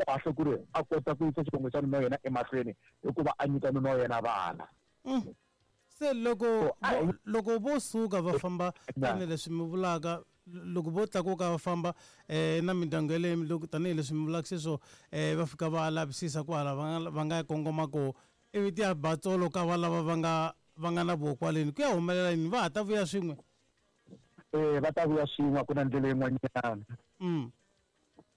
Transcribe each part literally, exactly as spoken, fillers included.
Kahle ku ri a kota ku yisa xivongo xa nuna wa yena emahlweni hikuva a nyika nuna wa yena vana. Se loko loko vo suka va famba tanihileswi mi vulaka loko vo tlakuka va famba um na mindyangu yeleyo loko tanihileswi mi vulaka sweswo um va fika va lavisisa kwala va nga va nga kongoma kona ivi ti ya ba tsolo ka va lava va nga va nga na voho kwaleni ku ya humelela yini va ha ta vuya swin'we? Eh va ta vuya swin'we a ku na ndlela yin'wanyana.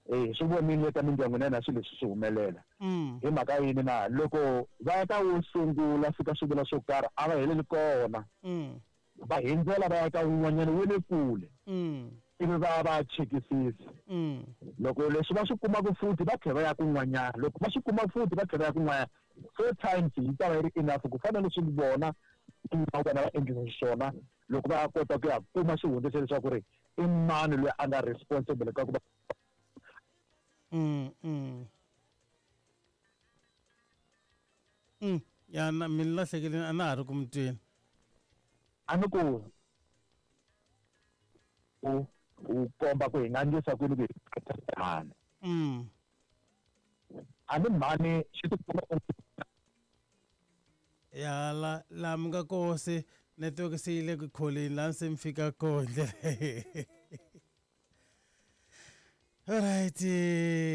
Eh swi vonile eka mindyangu na yena swilo leswi swi humelela. Hi mhaka yini na loko va ya ka wo sungula fika swi vula swo karhi a va heleli kona. Va hindzela va ya ka wun'wanyana wa le kule. Ivi va va chekisisa. Loko leswi va swi kumaka futhi va tlhela va ya kun'wanyana, loko va swi kuma futhi va tlhela va ya kun'wanyana. Four times yi ta va yi ri enough ku fana leswi vona vona va endlisa xiswona loko va kota ku ya kuma xihundla xa leswaku ri i mani loyi a nga responsible ka ku va Mm mm. Mm ya na mi lahlekile a na ha ri ku mi tweni. A ni ku u u komba ku hi nga endlisa ku yini ku hi mhani. Mm. A ni mhani xi tikuma ya la la mi nga koho se network se yi le ku kholeni laha se mi fika koho ndlela. Alright,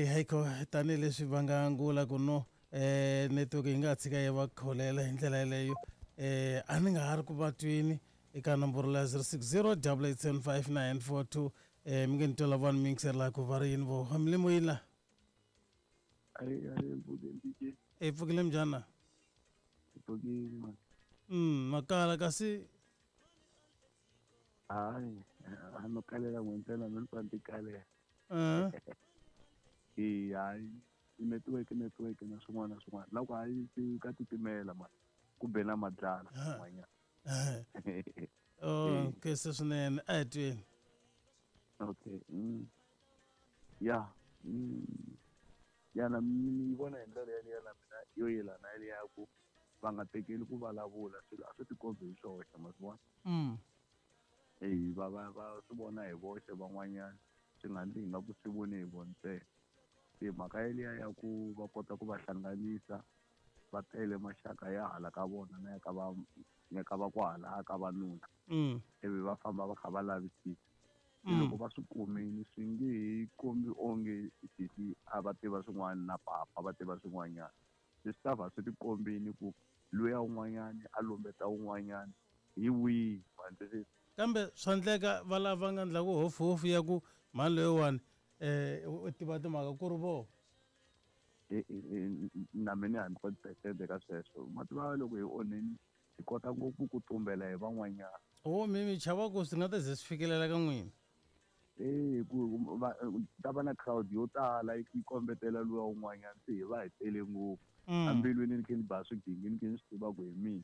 haiko tanihileswi va nga angula ku no eh network yi nga tshika yi va kholela hi ndlela yeleyo eh a ni nga ha ri ku va twini eka nomboro la zero six zero double eight seven five nine four two eh mi nge ni twela vanhu mi yingisela ku va ri yini vo mi le moyeni la? E pfukile njhani? Pfukile. Mm makala kasi hayi a no kalela n'we ntsena mi ni pfa ni ti kalela. Uh Eh hayi network network na swin'wana na swin'wana loko hayi ka titimela ma ku be na madlala swin'wanyana. Oh ke se swinene a hi tweni. Okay. Mm. Ya. Mm. Ya na mi vona hi ndlela yaleyo na mina yo yelana yaleyo ku va nga tekeli ku vulavula swilo a swi tikombi hi swoxe ma swi vona. Mm. Eh va va va swi vona hi voxe van'wanyana swi nga ndli nga ku swi vone hi vona ntsena. Se mhaka yeliya ya ku va kota ku va hlanganisa va tele maxaka ya hala ka vona na ya ka va ya ka va kwahala ka vanuna. Mm. Ivi va famba va kha va lavisisa. Loko va swi kumile swi nge he kombi onge sesi a va tiva swin'wana na papa va tiva swin'wanyana. Leswi ta va swi tikombile ku luya un'wanyana a lumbeta un'wanyana hi wihi ma twisisa. Kambe swa endleka va lava nga endlaku hofuhofu ya ku mhani loyiwani eh u tiva timhaka ku ri voho. Na mina hundred percent eka sweswo ma tiva loko hi onheni hi kota ngopfu ku tumbela hi van'wanyana. Oh mi mi chava ku swi nga ta ze swi fikelela ka n'wina. Eh ku va ta va na crowd yo tala yi kombetela luya un'wanyana se hi va hi tele ngopfu. Ambilwini ni khe ni ba swigingi ni khe ni swi tiva ku hi mina.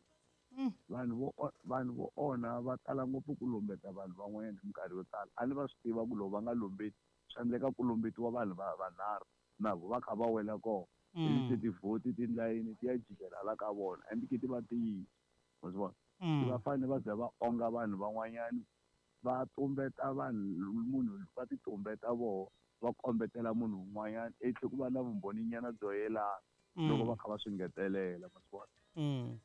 Vanhu vo vanhu vo onha va tala ngopfu ku lumbeta vanhu van'wanyana hi minkarhi yo tala. A ni va swi tiva ku loko va nga lumbeti swi endleka ku lumbetiwa vanhu va vanharhu na vo va kha va wela kona. Ivi se tivhoti tilayini ti ya jikela la ka vona and ti va tiyisa ma swi vona. Va fanele va za va onga vanhu van'wanyana va tumbeta vanhu munhu va ti tumbeta voho va kombetela munhu un'wanyana i tlhe ku va na vumbhoninyana byo yelana loko va kha va swi ngetelela ma swi vona.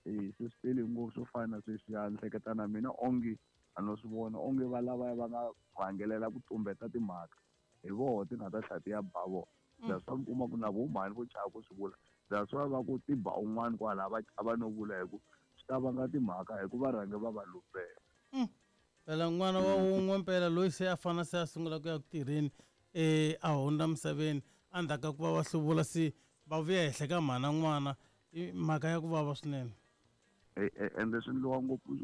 Eh se swi tele ngopfu swo fana na sweswiya ni hleketa na mina onge a no swi vona onge va lavaya va nga rhangelela ku tumbeta timhaka hi voho ti nga ta tlhela ti ya ba vona. That's why mi kuma ku na vo mhani vo chava ku swi vula. That's why va ku ti ba un'wana kwala va chava no vula hi ku swi ta vanga timhaka hi ku va rhange va va lumbela. Phela n'wana wa wun'we mpela loyi se a fana se a sungula ku ya ku tirheni eh a hundza misaveni endzhaku ka ku va va hluvula se va vuya henhla ka mhana n'wana i mhaka ya ku vava swinene. Ende swi endliwa ngopfu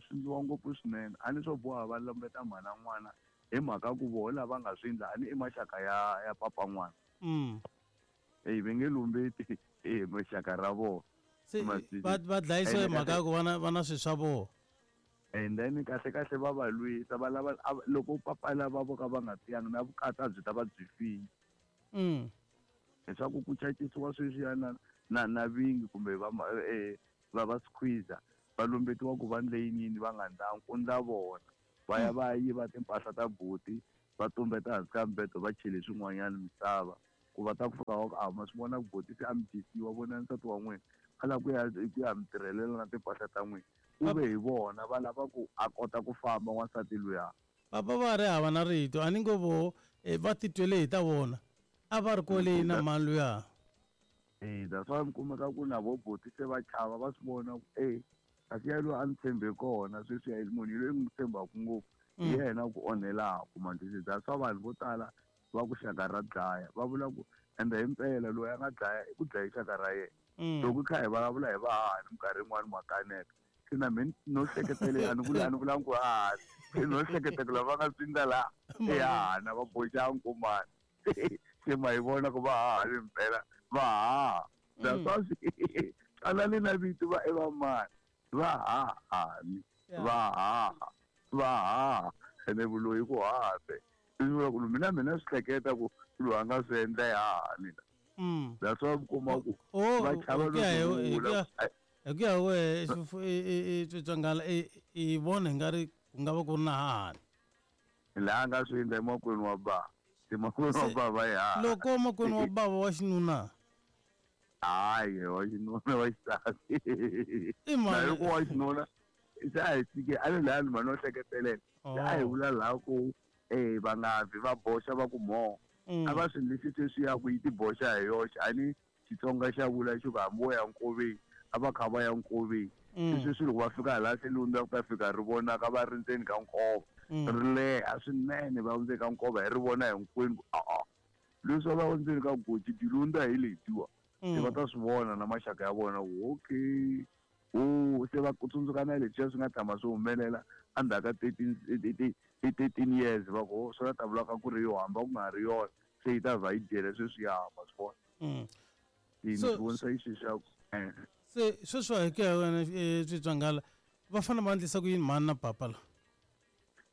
swi endliwa ngopfu swinene a ni swo boha va lumbeta mhana n'wana hi mhaka ku voho lava nga swi endla a ni i maxaka ya ya papa n'wana. Mm. Eh va nge lumbeti eh maxaka ra vona. Se va va dlayisiwa hi mhaka ya ku va na va na swilo swa vona. And then kahle kahle va va lwisa va lava loko papa lava vo ka va nga tiyanga na vukati a byi ta va byi file. Mm. Leswaku ku cacisiwa sweswiya na na na vingi kumbe va eh va va squeezer va lumbetiwa ku va ndle yini va nga ndlangi ku ndla vona va ya va yiva timpahla ta buti va tumbeta hansi ka mbeto va chele swin'wanyana misava Ku va ta ku fika va ku a ma swi vona ku boti se a mi dyisiwa vona nsati wa n'wina a lava ku ya ku ya mi tirhelela na timpahla ta n'wina ku ve hi vona va lava ku a kota ku famba wansati luya. Papa va ri hava na rito a ni ngo vo va titwele hi ta vona a va ri kwale na mani luya. Eh that's why mi kumeka ku na vo boti se va chava va swi vona ku eh kasi ya loyi a ni tshembe kona sweswi ya munhu loyi n'wi tshembaka ngopfu hi yena ku onhelaka manjhe. That's why vanhu vo tala va ku xaka ra dlaya va vula ku ende himpela loyi a nga dlaya i ku dlaya xaka ra yena. Loko kha hi vulavula hi vahahani minkarhi yin'wani ma kaneta se na mina no hleketele a ni vula a ni vulanga ku hahani se no hleketa ku lava nga swi laha i hahana va boxa nkumani se ma yi vona ku va hahani himpela va haha. That's why twanani na vito va i va mani va hahani va haha va haha ene vuloyi ku haha se swi vula ku mina mina swi hleketa ku loyi a nga swi endla i hahani la. That's why mi kuma ku va chava loko hi ku ya wehe Tswitswangala i vona hi nga ri ku nga va ku ri na hahani laha a nga swi endla emakwenu wa bava se makwenu wa bava i haha loko makwenu wa bava wa xinuna hayi wa xinuna wa xisati i mani loko wa xinuna se a hi tshike a le lahani mhani no hleketelela se a hi vula laha ku eh va nga vi va boxa va ku mo a va swi endlisi sweswiya ku yi ti boxa hi yoxe a ni Xitsonga xa vula xi ku hambi wo ya nkoveni a va kha va ya nkoveni sweswi loko va fika laha se lundza ku ta fika ri vonaka va ri ndzeni ka nkova ri leha swinene va ndzeni ka nkova hi ri vona hinkwenu ku a-a leswi va ndzeni ka goji dilundza hi letiwa se va ta swi vona na maxaka ya vona ku okay o se va tsundzuka na leswiya swi nga tshama swi humelela endzhaku ka thirteen thirteen years va ku swi nga ta vulaka ku ri yo hamba ku nga ri yona se yi ta vha yi dyele sweswi ya hamba swi vona. Ni swi vonisa yi sweswiya ku se sweswi hi ku ya wena Tswitswangala va fanele va endlisa ku yini mhani na papa la?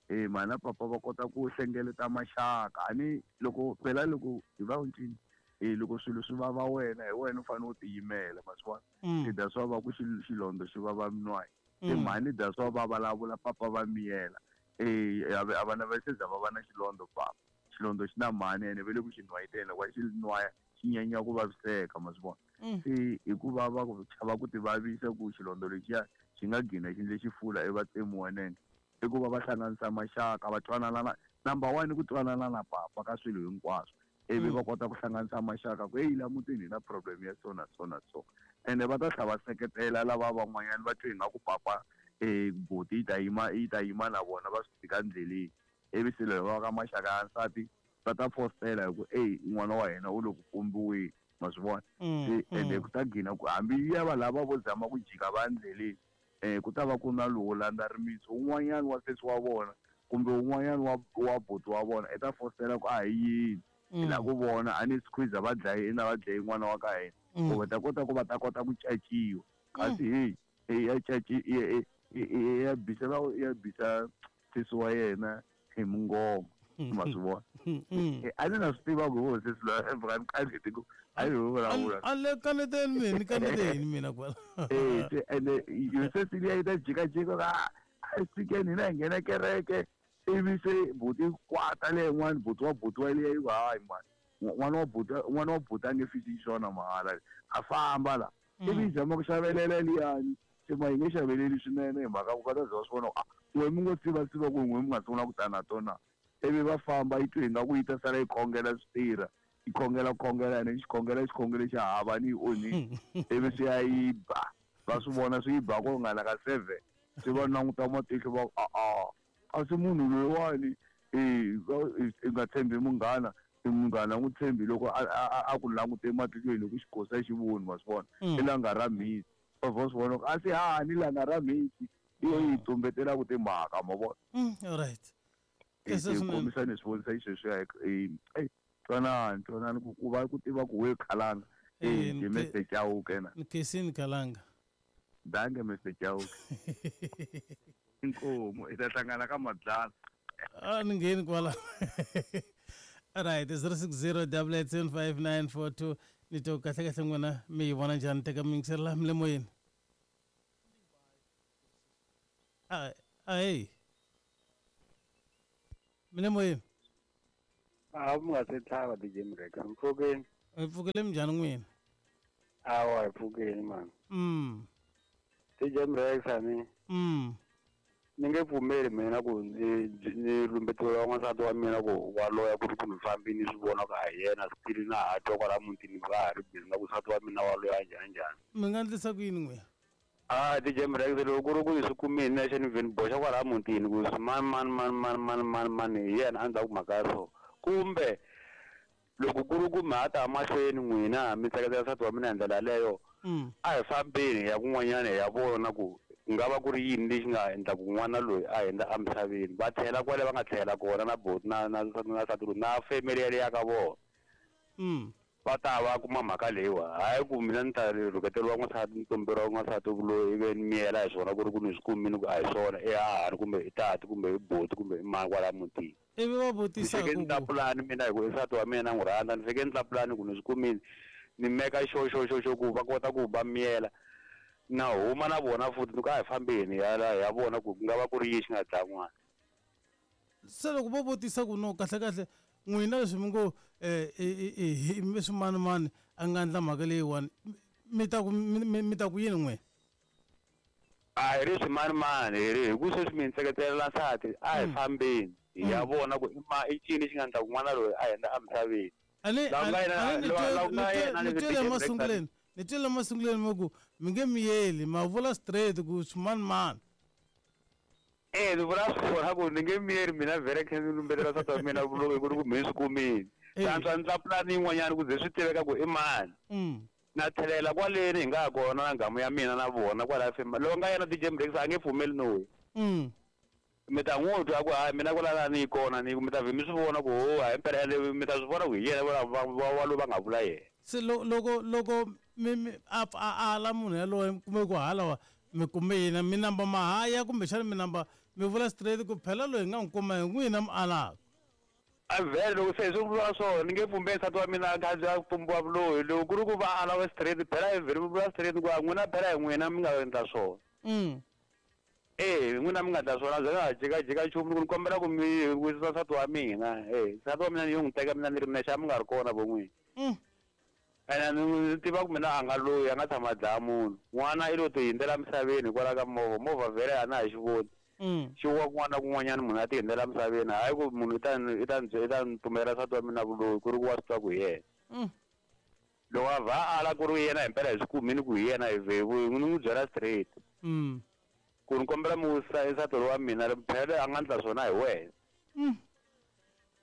Eh mhani na papa va kota ku hlengeleta maxaka a ni loko phela loko hi va ncini eh loko swilo swi vava wena hi wena u fanele u tiyimela ma swi vona se that's why va ku xilondho xi vava minwayi se mhani that's why va vulavula papa va miyela eh a va na va se za va va na xilondho papa xilondho xi na mhani ene ve le ku xi nwayitela loko va xi nwaya xi nyanya ku vaviseka ma swi vona se hikuva va ku chava ku ti vavisa ku xilondho lexiya xi nga gina xi endle xifula i va tsemiwa nenge i ku va va hlanganisa maxaka va twanana na number one i ku twanana na papa ka swilo hinkwaswo ivi va kota ku hlanganisa maxaka ku heyi la mutini hi na problem ya so na so na so ene va ta tlhela va seketela lava van'wanyana va twe ingaku papa eh boti yi ta yima yi ta yima na vona va swi tshika ndleleni ivi se loko va ka maxaka ya nsati va ta fostela hi ku eyi n'wana wa hina u le ku kombiweni ma swi vona se ende ku ta gina ku hambi ya va lava vo zama ku jika va ndleleni eh ku ta va ku na lowo landza rimitsu un'wanyana wa sesi wa vona kumbe un'wanyana wa wa buti wa vona i ta fostela ku a hi yini hi lava ku vona a ni squeeze va dlaye na va dlaye n'wana wa ka hina ku va ta kota ku va ta kota ku caciwa kasi hey ya caci ya bisa va ya bisa sesi wa yena hi mungoma ma swi vona a ni na swi tiva ku ho sesi loyi a ni kaneti ku a yi ho vulavula a le kaneteni mina ni kaneteni mina kwala eh ene yo sesi liya yi ta jikajika ka a fikeni hina hi nghena kereke ivi se buti kwata leyin'wani buti wa buti wa liya yi ku hayi mani n'wana wa buti n'wana wa buti a nge fisi xiswona mahala a famba la ivi yi zama ku xavelela liyani se ma yi nge xaveleli swinene hi mhaka ku va ta za va swi vona ku a n'we mi ngo tsivatsiva ku n'we mi nga sungula ku ta na tona ivi va famba yi twe ingaku yi ta sala yi khongela swi tirha yi khongela khongela ene xikhongela xikhongelo xa hava ni yi onhile ivi swi ya yi ba va swi vona swi yi ba ku ringana ka seven se va languta matihlo va ku a-a a si munhu loyiwani i nga tshembi munghana munghana n'wi tshembi loko a ku langute ematihlweni loko xikosa xi voni ma swi vona i langa ra mhisi va va swi vona ku a si hahani langa ra mhisi i yo yi tumbetelaka timhaka ma vona. Alright kombisa ni swi vonisa xisweswiya eyi twanani twanani ku ku va ku tiva ku we khalanga eh hi Mister Chauke na Nkesini Khalanga danke Mister Chauke inkomu i ta hlangana ka madlala a ni ngheni kwala. Alright, zero six zero double eight seven five nine four two ni to kahle kahle n'wina mi yi vona njhani teka mi yingiselela mi le moyeni a a hey mi le moyeni. A mi nga se tlhava D J Mrex. Mpfukeni. Hi pfukile minjhani n'wina? Awa hi pfukeni mani. Mm. D J Mrex ani. Mm. Ni nge pfumeli mina ku ni ni lumbetiwa n'wansati wa mina ku wa loya ku ri ku ni fambi ni swi vona ku a hi yena still na ha twa kwala mutini va ha ri busy na ku nsati wa mina wa loya njhani njhani. Mi nga endlisa ku yini n'wina? Ah D J Mrex loko ku ri ku ni swi kumile nexe ni vhe ni boxa kwala mutini ku mani mani mani mani mani mani mani hi yena a ndzhaku mhaka ya so. Kumbe loko ku ri ku mi ha ta mahlweni n'wina mi tseketsela nsati wa mina hi ndlela yaleyo a hi fambeni hi ya kun'wanyana hi ya vona ku ku nga va ku ri yini lexi nga endla ku n'wana loyi a hundza emisaveni. Va tlhela kwale va nga tlhela kona na boti na na na nsati loyi na family yaleyo ya ka vona. Va ta va kuma mhaka leyiwa hayi ku mina ni ta rhuketeriwa n'wansati ni tumberiwa n'wansati loyi ivi ni miyela hi swona ku ri ku ni swi kumile ku a hi swona i hahani kumbe i tati kumbe i boti kumbe i mani kwala mutini. Ivi va vutisa ni fike ni tla pulani mina hi ku i nsati wa mina na n'wi rhandza ni fike ni tla pulani ku ni swi kumile ni meka xo xo xo xo ku va kota ku va miyela na huma na vona futhi ni ku a hi fambeni ya la ya vona ku ku nga va ku ri yini xi nga dlaya n'wana. Se loko vo vutisa ku no kahle kahle n'wina leswi mi ngo hi swimanimani a nga endla mhaka leyiwani mi ta ku mi ta ku yini n'wina? A hi ri swimanimani hi ri hi ku sweswi mi ni tseketelela nsati a hi fambeni hi ya vona ku i ma i ncini xi nga endla ku n'wana loyi a hundza emisaveni. A ni ni twele emasunguleni ni twele emasunguleni mi ku mi nge miyeli ma vula straight ku swimanimani. Eh ni vula swona ku ni nge miyeli mina vhele khe ni lumbetela nsati wa mina vuloyi ku ri ku mi swi kumile. Swa ndla pulani yin'wanyana ku ze swi tiveka ku i mani. Na tlhelela kwaleni hi nga ha kona na nghamu ya mina na vona kwala fema loko nga yena D J Mrex a nge pfumeli no we. Mi ta n'wi twa ku hayi mina kwala ni yi kona ni mi ta vhe mi swi vona ku ho hayi mpela ende mi ta swi vona ku hi yena va wa loyi va nga vula yena. Se loko loko mi mi a a ala munhu yaloye kumbe ku hala wa mi kume yena mi namba mahaya kumbexana mi namba mi vula straight ku phela loyi hi nga n'wi kuma hi n'wina mi alaka. A vhele loko se hi swi vula swona ni nge pfumeli nsati wa mina a kha a pfumbiwa vuloyi loko ku ri ku va ala wa straight phela hi vhele mi vula straight ku a n'wina phela hi n'wina mi nga endla swona. Eh n'wina mi nga endla swona byi nga ha jikajika nchumu ni kombela ku mi wisisa nsati wa mina eh nsati wa mina ni yo n'wi teka mina ni ri nexe a mi nga ri kona vo n'wina. Ene ni tiva ku mina a nga loyi a nga tshama a dlaya munhu n'wana i lo ti hundzela emisaveni hikwalaho ka movha movha vhele a na ha xi voni. Xi wa kun'wana na kun'wanyana munhu a ti hundzela emisaveni hayi ku munhu i ta i ta i ta ni pfumelela nsati wa mina vuloyi ku ri ku wa swi twa ku hi yena. Loko a vha a ala ku ri yena hi mpela hi swi kumile ku hi yena hi vhe ni n'wi byela straight. Ku ni kombela mi wisisa nsati loyi wa mina phela a nga endla swona hi wena.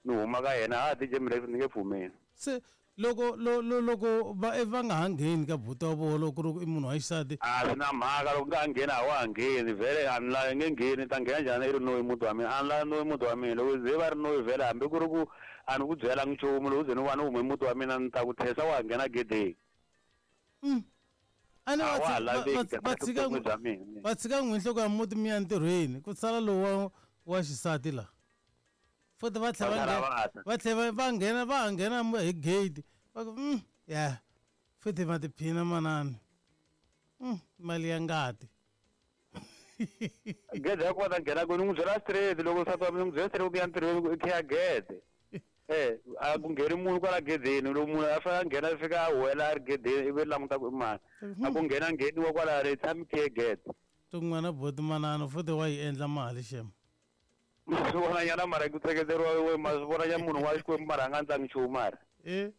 Ni huma ka yena ha D J Mrex ni nge pfumeli. Se loko loko va va nga ha ngheni ka buti wa vona loko ku ri i munhu wa xisati a swi na mhaka loko nga ha ngheni a wa ha ngheni vhele a ni la nge ngheni ta nghena njhani i ri noyi muti wa mina a ni la noyi muti wa mina loko ze va ri noyi vhele hambi ku ri ku a ni ku byelangi nchumu loko ze ni va ni hume muti wa mina ni ta ku tlhesa wa ha nghena gedeni. A ni va tshika va tshika n'wi nhloko ya muti mi ya ntirhweni ku sala lowu wa xisati la futhi va tlhela va tlhela va nghena va ha nghena hi gate va ku ya futhi va tiphina manani mali ya ngati. Gede ya kona nghena ku ni n'wi byela straight loko nsati wa mina ni n'wi byela straight ku ya ntirhweni ku i khiya gede eh a ku ngheni munhu kwala gedeni loko munhu a fanele a nghena a fika a huwela a ri gedeni ivi languta ku i mani a ku nghena ngheniwa kwala ri tshami khiye gede. Tin'wana boti manana futhi wa yi endla mali xem. Ma swi vona nyana mara ku tseketeriwa ma swi vona nyana munhu wa Xikwembu mara a nga ndlangi nchumu mara. Eh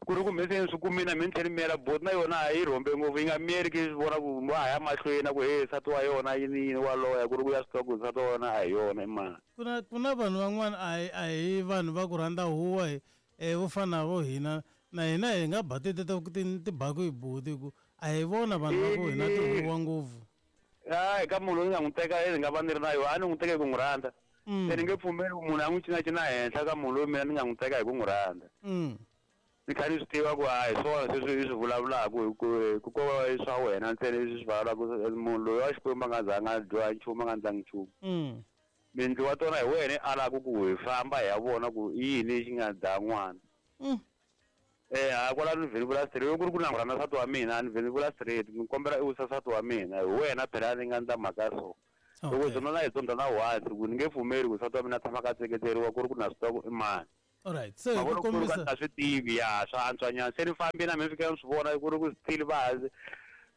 ku ri ku mi se ni swi kumile mi ni tlhela ni miyela boti na yona a yi rhombe ngopfu yi nga miyeli ki swi vona ku va ha ya mahlweni ku he nsati wa yona yini yini wa loya ku ri ku ya swi tiva ku nsati wa yona a hi yona i mani. Ku na ku na vanhu van'wana a hi a hi vanhu va ku rhandza huwa hi eh vo fana vo hina na hina hi nga ba ti ti baku hi boti ku a hi vona vanhu va ku hina tihuwa ngopfu. Hayi ka munhu loyi ni nga n'wi teka ni nga va ni ri na yona a ni n'wi teka hi ku n'wi rhandza. Se ni nge pfumeli ku munhu a n'wi cinacina henhla ka munhu loyi mina ni nga n'wi teka hi ku n'wi rhandza. Ni kha ni swi tiva ku a hi swona sweswi i swi vulavulaka hi ku ku ko va i swa wena ntsena leswi swi vulavulaka munhu loyi wa Xikwembu a nga zanga a dyoha nchumu a nga ndlangi nchumu. Mindlu wa tona hi wena i alaka ku hi famba hi ya vona ku i yini lexi nga dlaya n'wana. Eh a kwala ni vhe ni vula straight loko ku ri ku na n'wi rhandza nsati wa mina ni vhe ni vula straight ni kombela i wisa nsati wa mina hi wena phela ni nga ndla mhaka so. Loko zona na hi tsondza na once ku ni nge pfumeli ku nsati wa mina a tshama a tseketeriwa ku ri ku na swi tiva ku i mani. Alright se ku kombisa a swi tivi ya swa antswanyana se ni fambi na mina fika ni swi vona ku ri ku still va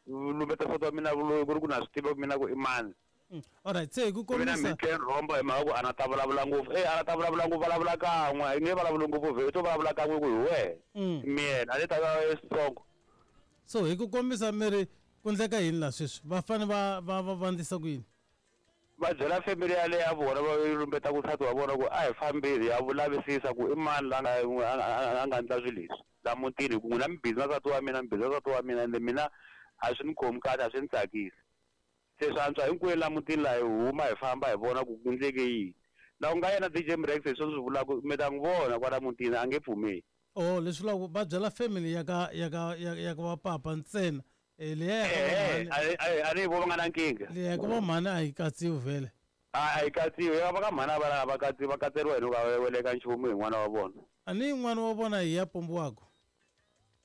lumbeta nsati wa mina vuloyi ku ri ku na swi tiva ku mina ku i mani. Alright se ku kombisa mina mi rhomba hi mhaka ku a na ta vulavula ngopfu eh a na ta vulavula ngopfu vulavula kan'we i nge vulavuli ngopfu vhe to vulavula kan'we ku hi wehe mina a ni ta va strong. So hi ku kombisa mi ri ku ndleka yini la sweswi va fanele va va va vandlisa ku yini? Va byela family yaleyo ya vona va lumbeta ku nsati wa vona ku a hi fambile ya vulavisisa ku i mani la nga a nga endla swilo leswi la mutini hi ku n'wina mi busy na nsati wa mina mi busy na nsati wa mina ende mina a swi ni khomi kahle a swi ni tsakisi. Se swi antswa hinkwenu la mutini laha hi huma hi famba hi vona ku ku ndleke yini. La ku nga yena D J Mrex hi swona swi vulaka mi ta n'wi vona kwala mutini a nge pfumeli. Oh leswi vulaka va byela family ya ka ya ka ya ka va papa ntsena. Leya a ni vo va nga na nkingha. Leya ka va mhani a yi katsiwi vhele. A yi katsiwi ya va ka mhani a va va katsiwi va katseriwa hi loko va weleka nchumu hi n'wana wa vona. A ni n'wana wa vona hi ya pombiwaka.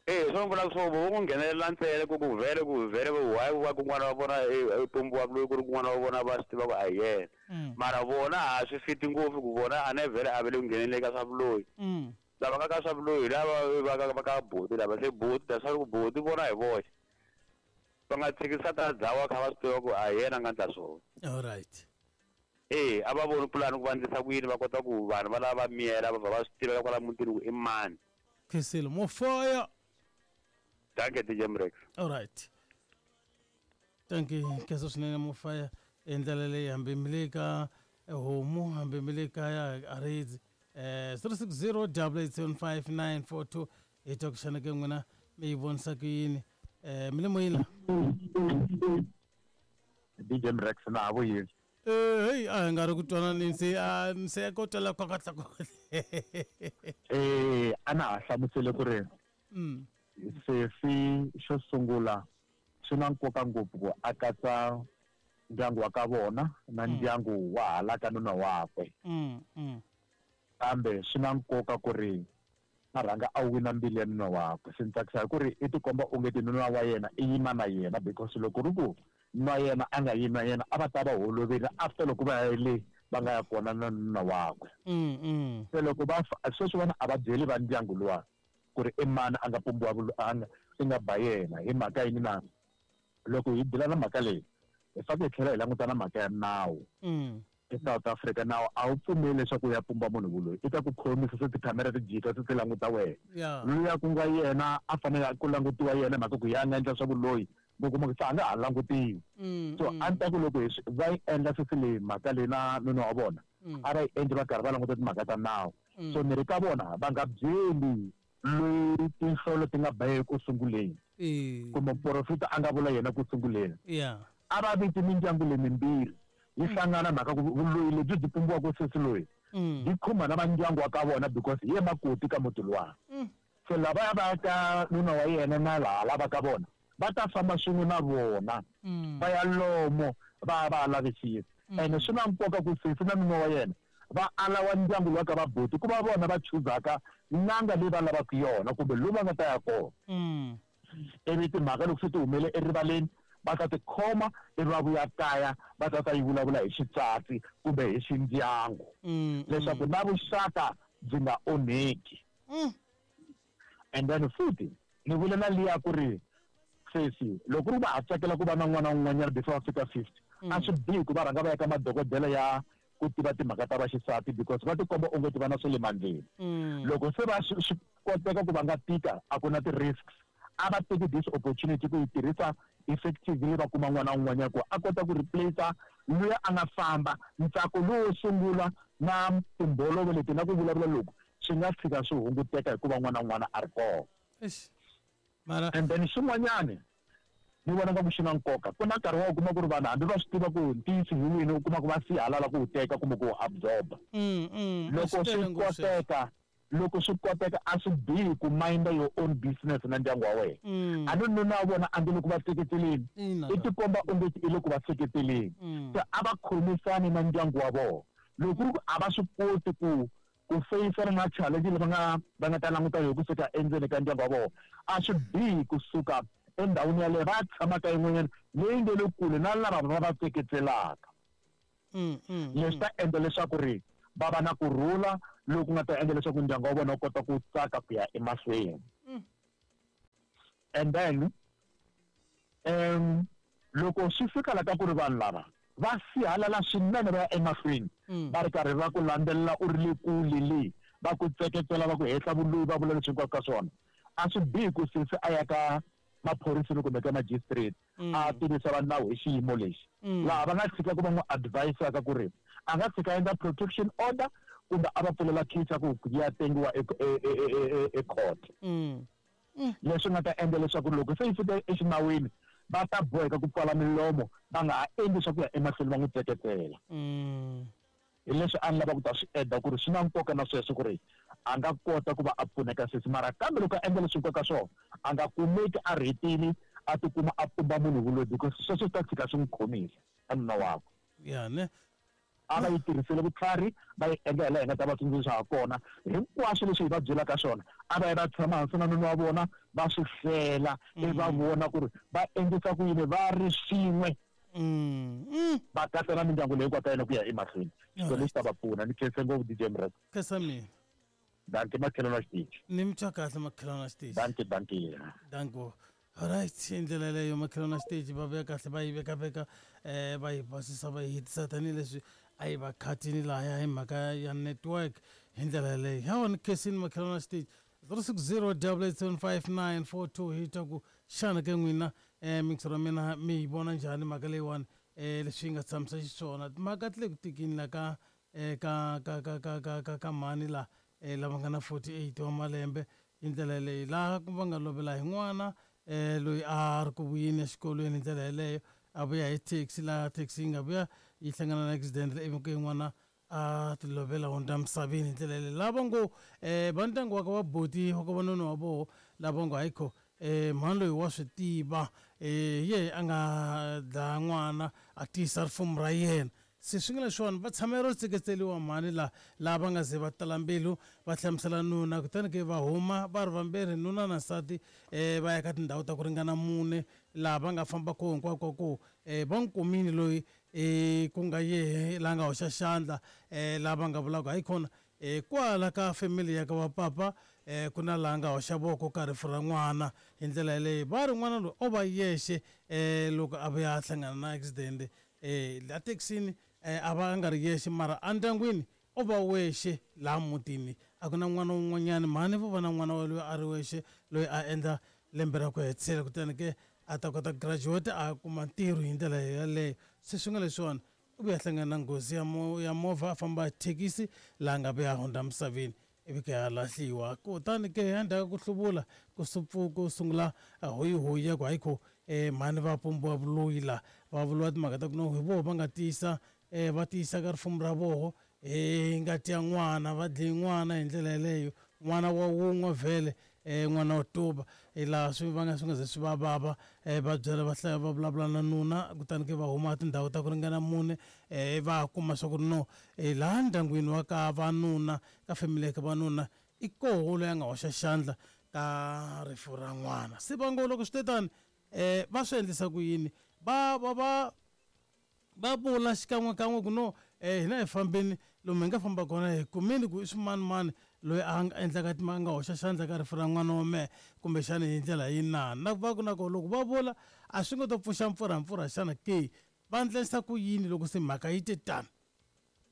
Eh swo vula swo vo ku nghenelela ntsena ku ku vhele ku vhele why va ku n'wana wa vona e pombiwa loyi ku ri ku n'wana wa vona va swi tiva ku a hi yena. Mara vona a swi fiti ngopfu ku vona a ne vhele a ve le ku ngheneleni ka swa vuloyi. Lava nga ka swa vuloyi lava va ka va ka buti lava se buti that's why ku buti vona hi voxe. Va nga tshikisa ta dzawa kha va swi tiva ku a hi yena a nga endla swona. Alright. Eh a va voni pulani ku va endlisa ku yini va kota ku vanhu va lava va miyela va va swi tiveka kwala mutini ku i mani. Khisile mo fire. Dankie D J Mrex. Alright. Thank you kheso swinene mo fire endlela leyi hambi mi le ka homu hambi mi le kaya a ridzi eh zero six zero double eight seven five nine four two hi twa ku xana ke n'wina mi yi vonisa ku yini. Eh mi le moyeni la? D J Mrex na ha vuyile. Eh hey a hi nga ri ku twananeni se a se ko twala kwakatla kwakatla. Eh a na ha hlamusele ku ri mm sesi xo sungula swi na nkoka ngopfu ku a katsa ndyangu wa ka vona na ndyangu wa hala ka nuna wakwe. Mm mm kambe swi na nkoka ku ri a rhanga a wina mbilu ya nuna wakwe. Se ni tsakisa hi ku ri i tikomba onge ti nuna wa yena i yima na yena because loko ri ku nuna wa yena a nga yimi na yena a va ta va holovile after loko va ya le va nga ya kona na nuna wakwe. Mm mm se loko va sweswi vona a va byeli va ndyangu luwa ku ri i mani a nga pumbiwa a nga i nga ba yena hi mhaka yini na loko hi dila na mhaka leyi hi fanele hi tlhela hi languta na mhaka ya nawu. Mm eSouth Africa nawu a wu pfumeli leswaku u ya pumba munhu vuloyi i ta ku khomisa se tikhamera ti jika se ti languta wena. Luya ku nga yena a fanele ku langutiwa yena mhaka ku ya nga endla swa vuloyi mi kuma ku se a nga ha langutiwi. So a ni ta ku loko hi va yi endla sesi leyi mhaka leyi na nuna wa vona a va yi endli va karhi va languta timhaka ta nawu. So ni ri ka vona va nga byeli loyi tinhlolo ti nga ba ku sunguleni kumbe muprofita a nga vula yena ku sunguleni. A va viti mindyangu leyi mimbirhi yi hlangana mhaka ku vuloyi lebyi byi pumbiwaka sesi loyi byi khumba na vandyangu wa ka vona because hi ye makoti ka muti luwa. So lavaya va ka nuna wa yena na laha lava ka vona va ta famba swin'we na vona va ya lomo va ya va ya lavisisa. Ene swi na nkoka ku sesi na nuna wa yena va alawa ndyangu luwa ka vabuti ku va vona va chuzaka n'anga leyi va lavaka yona kumbe lowu va nga ta ya kona. Ivi timhaka loko se ti humele erivaleni va ta tikhoma ivi va vuya kaya va ta ta yi vulavula hi xitswatsi kumbe hi xindyangu leswaku na vuxaka byi nga onheki. And then futhi ni vule na liya ku ri sesi loko ri va ha tsakela ku va na n'wana un'wanyana before va fika fifty a swi bihi ku va rhanga va ya ka madokodela ya ku tiva timhaka ta vaxisati because va tikomba onge ti va na swa le mandleni. Loko se va swi koteka ku va nga tika a ku na ti-risks a va teki this opportunity ku yi tirhisa effectively va kuma n'wana un'wanyana ku a kota ku replace luya a nga famba. Ntsako lowo sungula na timbolovo leti na ku vulavula loku swi nga fika swi hunguteka hikuva n'wana un'wana a ri kona. Mara and then xin'wanyani ni vona nga ku xi na nkoka ku na nkarhi wa u kuma ku ri vanhu hambi va swi tiva ku ntiyiso hi wini u kuma ku va sihalala ku wu teka kumbe ku wu absorba. Loko swi koteka loko swi koteka a swi bihi ku minda your own business na ndyangu wa wena. A ni nuna wa vona a nge le ku va seketeleni i tikomba onge i le ku va seketeleni. Se a va khomisani na ndyangu wa vona loko ri ku a va swi koti ku ku feyisana na challenge leyi va nga va nga ta languta hi kusuka endzeni ka ndyangu wa vona a swi bihi kusuka endhawini yaleyo va tshama ka yin'wanyana leyi nge le kule na lava va va tseketselaka. Leswi ta endla leswaku ri va va na kurhula loku nga ta endla leswaku ndyangu wa vona wu kota ku tsaka ku ya emahlweni. And then um loko swi fika la ka ku ri vanhu lava va sihalala swinene va ya emahlweni va ri karhi va ku landzelela u ri le kule le va ku tseketsela va ku hehla vuloyi va vula leswi hinkwaswo ka swona a swi bihi ku sesi a ya ka maphoriseni kumbe ka magistrate a tivisa va nawu hi xiyimo lexi laha va nga tshika ku va n'wi advisaka ku ri a nga tshika endla protection order kumbe a va pfulela case ya ku ya tengiwa e court leswi nga ta endla leswaku loko se yi fika exinawini va ta boheka ku pfala milomo va nga ha endli swa ku ya emahlweni va n'wi tseketsela. Hi leswi a ni lava ku ta swi endla ku ri swi na nkoka na sweswo ku ri a nga kota ku va a pfuneka sesi mara kambe loko a endla leswi nkoka swona a nga kumeki a rhetile a tikuma a pumba munhu vuloyi because sweswo swi ta tshika swi n'wi khomisa a nuna wakwe. Ya ne a va yi tirhisile vutlhari va yi endla hi laha hi nga ta va tsundzuxa ha kona hinkwaswo leswi hi va byelaka swona a va yi va tshama hansi na nuna wa vona va swi hlela ivi va vona ku ri va endlisa ku yini va ri swin'we va katsa na mindyangu leyi hinkwayo ka yena ku ya emahlweni so lexi ta va pfuna. Ni khense ngopfu D J Mreko. Khensa mina. Danke makhelwane wa xitichi. Ni mi twa kahle makhelwane wa xitichi. Danke danke. Danko. Alright, hi ndlela yeleyo makhelwane wa xitichi va vuya kahle va yi vekaveka um va yi basisa va yi hetisa tanihileswi a yi va khatini lahaya hi mhaka ya network hi ndlela yeleyo. Hawa ni khensini makhelwane wa xitichi zero six zero double eight seven five nine four two hi twa ku xana ke n'wina um mixer wa mina mi yi vona njhani mhaka leyiwani um leswi yi nga tshamisa xiswona timhaka ti le ku tikini la ka um ka ka ka ka ka ka ka mhani la um lava nga na forty eight wa malembe hi ndlela yeleyo laha va nga lovela hi n'wana um loyi a ri ku vuyeni exikolweni hi ndlela yeleyo a vuya hi taxi laha taxi yi nga vuya yi hlangana na accident ivi ke n'wana a ti lovela hundza misaveni hi ndlela yeleyo lava ngo um va ndyangu wa ka va boti wa ka va noni wa voho lava ngo hayikho um mhani loyi wa swi tiva um ye a nga dlaya n'wana a tiyisa rifumo ra yena se swi nga leswiwani va tshamela ro tseketseliwa mhani la laha va nga ze va tala mbilu va hlamusela nuna kutani ke va huma va ri vambirhi nuna na nsati um va ya ka tindhawu ta ku ringana mune laha va nga famba koho hinkwako ko um va n'wi kumile loyi um ku nga yehe laha nga hoxa xandla um laha va nga vulaka hayi khona um kwala ka family ya ka va papa um ku na laha nga hoxa voko ka rifu ra n'wana hi ndlela yeleyo va ri n'wana loyi o va yexe um loko a vuya a hlangana na accident um la thekisini um a va a nga ri yexe mara endyangwini o va wexe laha mutini a ku na n'wana wun'wanyani mhani vo va na n'wana wa loyi a ri wexe loyi a endla lembe ra ku hetisela kutani ke a ta kota graduate a kuma ntirho hi ndlela yeleyo se swi nga leswiwani u vuya hlangana na nghozi ya mo ya movha a famba hi thekisi laha nga vuya hundza misaveni ivi ke a lahliwa kutani ke endzhaku ka ku hluvula ku ku sungula hoyihoyi ya ku hayikho um mhani va pumbiwa vuloyi la va vuriwa timhaka ta ku no hi voho va nga tiyisa um va tiyisa ka rifumo ra voho hi ngati ya n'wana va dlaye n'wana hi ndlela yeleyo n'wana wa wun'we vhele um n'wana wa tuba hi laha swi va nga swi nga ze swi va vava um va byela va hlaya va vulavula na nuna kutani ke va huma tindhawu ta ku ringana mune um va kuma swa ku ri no laha ndyangwini wa ka vanuna ka family ya ka vanuna i koho loyi a nga hoxa xandla ka rifu ra n'wana se va ngo loko swi te tani um va swi endlisa ku yini va va va va vula xikan'wekan'we ku no um hina hi fambeni lomu hi nga famba kona hi kumile ku i swimanimani loyi a nga endlaka a nga hoxa xandla ka rifu ra n'wana wa mehe kumbexana hi ndlela yinani na va ku na ko loko va vula a swi nga to pfuxa mpfurhampfurha xana ke va endlisa ku yini loko se mhaka yi te tani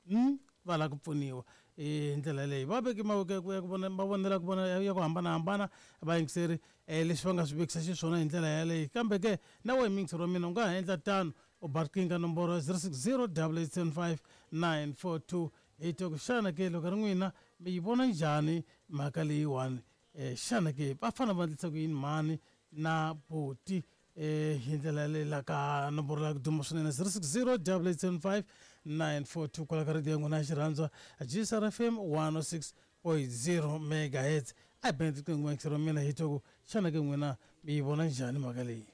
hmm va lava ku pfuniwa hi ndlela yeleyo va veke mavoko ya ku ya ku vona va vonela ku vona ya ku hambanahambana vayingiseri um leswi va nga swi vekisa xiswona hi ndlela yaleyo kambe ke na wehe muyingiseri wa mina u nga ha endla tano u ba riqingho ka nomboro zero six zero double eight seven five nine four two hi twa ku xana ke loko ri n'wina mi yi vona njhani mhaka leyiwani um xana ke va fanele va endlisa ku yini mhani na buti um hi ndlela yaleyo la ka nomboro la ku duma swinene zero six zero double eight seven five nine four two kwala ka radiyo ya n'wina ya xirhandzwa G S R F M one oh six point zero megahertz a hi beni riqingho muyingiseri wa mina hi twa ku xana ke n'wina mi yi vona njhani mhaka leyi.